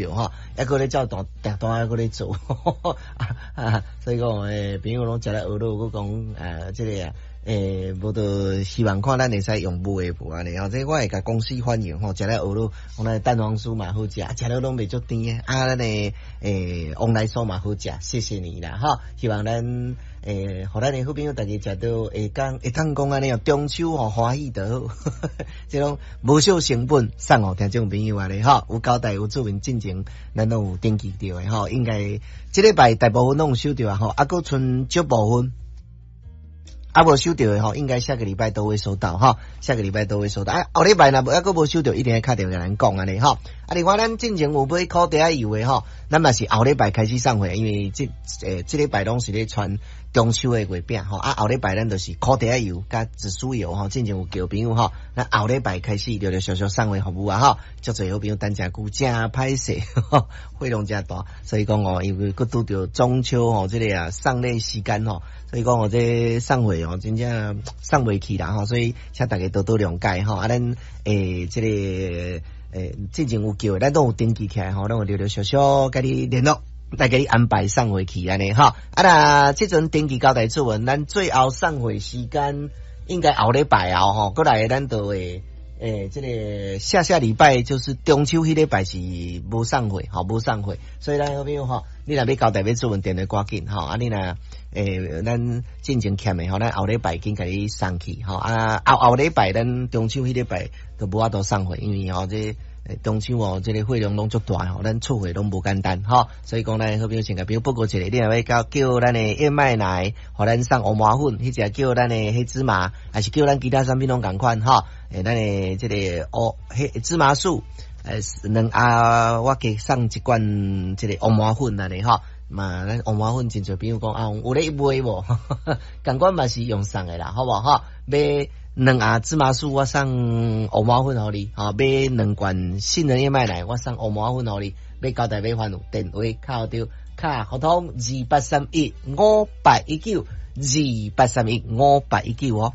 吼，猶閣咧照單訂單，猶閣咧做，所以講朋友攏食咧學囉，閣講這个啊，無就希望看咱會使用買的無按呢吼，這我會共公司反映吼，食咧學囉，講咱蛋黃酥嘛好食，食了攏袂足甜的，啊，咱的旺來酥嘛好食，謝謝你啦，吼，希望咱予咱的好朋友逐家食著會講會當講按呢哦，中秋吼歡喜就好，這攏無少成本送予聽眾朋友按呢吼，有交代有注明進前，咱攏有登記著的吼，應該這禮拜大部分攏有收著啊吼，啊閣賰少部分。啊，無收著的吼，應該下個禮拜都會收到哈，下個禮拜都會收到。啊，後禮拜若無猶閣無收著，一定會敲電話共咱講按呢吼。啊，另外咱進前有買苦茶仔油的吼，咱嘛是後禮拜開始送貨，因為這禮拜攏是咧傳中秋的月餅吼。啊，後禮拜咱就是苦茶仔油佮紫蘇油吼，進前有叫朋友吼，咱後禮拜開始陸陸續續送貨服務啊吼。足濟好朋友等誠久，誠歹勢，費用誠大，所以講哦，因為閣拄著中秋吼，這个啊送禮時間吼，所以講哦，這送貨哦，真正送袂去啦吼，所以請大家多多諒解吼。啊，咱這个進前有叫的，咱攏有登記起來吼，攏有陸陸續續共你聯絡，來共你安排送貨去按呢吼。啊，若這陣登記交代注文，咱最後送貨時間應該後禮拜後吼，過來咱就會這个下下禮拜就是中秋彼禮拜是無送貨，吼無送貨，所以咱好朋友吼，你若欲交代欲注文電話趕緊吼，啊你若咱進前欠的吼，咱後禮拜緊共你送去吼，啊後後禮拜咱中秋彼禮拜就無法度送貨，因為吼這中秋哦，這个貨量攏足大吼，咱出貨攏無簡單吼，所以講咱好朋友先共朋友報告一下，你若欲叫咱的燕麥奶，予咱送烏麻粉，彼隻叫咱的黑芝麻，還是叫咱其他產品攏仝款吼，咱的這个烏黑芝麻酥，兩盒我加送一罐這个烏麻粉按呢吼。嘛，咱烏麻粉真濟朋友講啊，有咧賣無？仝款嘛是用送的啦，好無吼？買兩盒芝麻酥，我送烏麻粉予你；吼，買兩罐杏仁燕麥奶，我送烏麻粉予你。欲交代欲煩惱，電話敲著敲合通28315819，28315819哦。